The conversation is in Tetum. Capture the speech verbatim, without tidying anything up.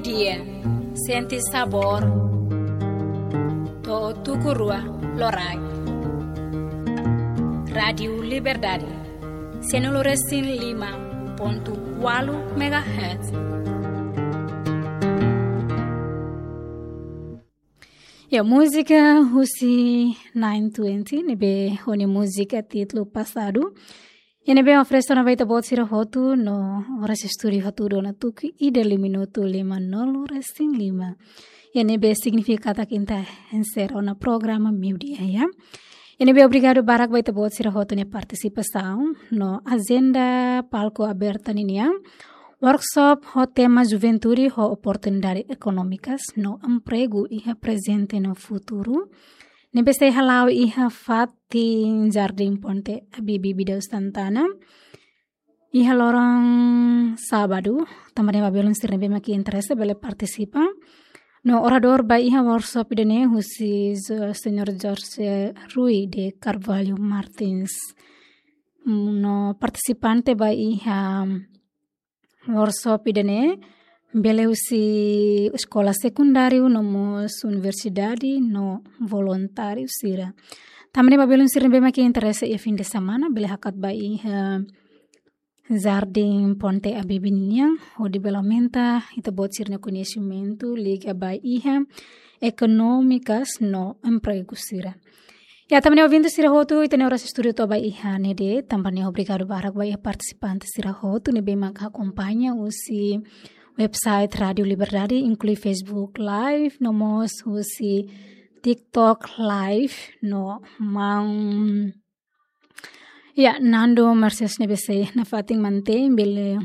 Dia, sente sabór. To'o tuku rua loraik. Rádiu Liberdade, sianulu resin lima pontu ualu megahertz. Ya, múzika husi nine twenty, ne'ebé ho nia múzika títulu Passado. Iha ne'ebé oferese ona ba ita-boot sira hotu no oras estúdiu hatudu ona tuku ida liu minutu limanulu resin lima. Iha ne'ebé signifika katak ita enserra ona programa meiudia, ya. Iha ne'ebé obrigadu barak ba ita-boot sira hotu nia partisipasaun no ajenda palku aberta ninian. Workshop ho tema Juventude ho oportunidade ekonómikas no empregu iha prezente no futuru. Ne'ebé sei hala'o iha fatin Jardim Ponte Abibi Bidau Santana. Iha loron sábadu, tanba ne'e ba belun sira ne'ebé mak iha interese bele partisipa. No oradór ba iha workshop ida-ne'e husi Jo-, Señór Jorge Rui de Carvalho Martins. No partisipante ba iha workshop ida-ne'e bele husi eskola sekundáriu no mós universidade no voluntáriu sira. Tanba ne'e ba belun sira ne'ebé mak iha interese iha fin de semana bele hakat ba iha Jardim Ponte Abibi nian, hodi bele aumenta ita-boot sira-nia koñesimentu liga ba iha ekonómikas no empregu sira. Ya, tanba ne'e ouvinte sira hotu, ita-nia oras estúdiu to'o ba iha ne'e de'it, tanba ne'e obrigadu barak ba iha partisipante sira hotu ne'ebé mak akompaña husi website Rádiu Liberdade, inklui Facebook Live, no mós husi TikTok Live, no maun, ya, Nando Mercedes ne'ebé sei nafatin mantein bele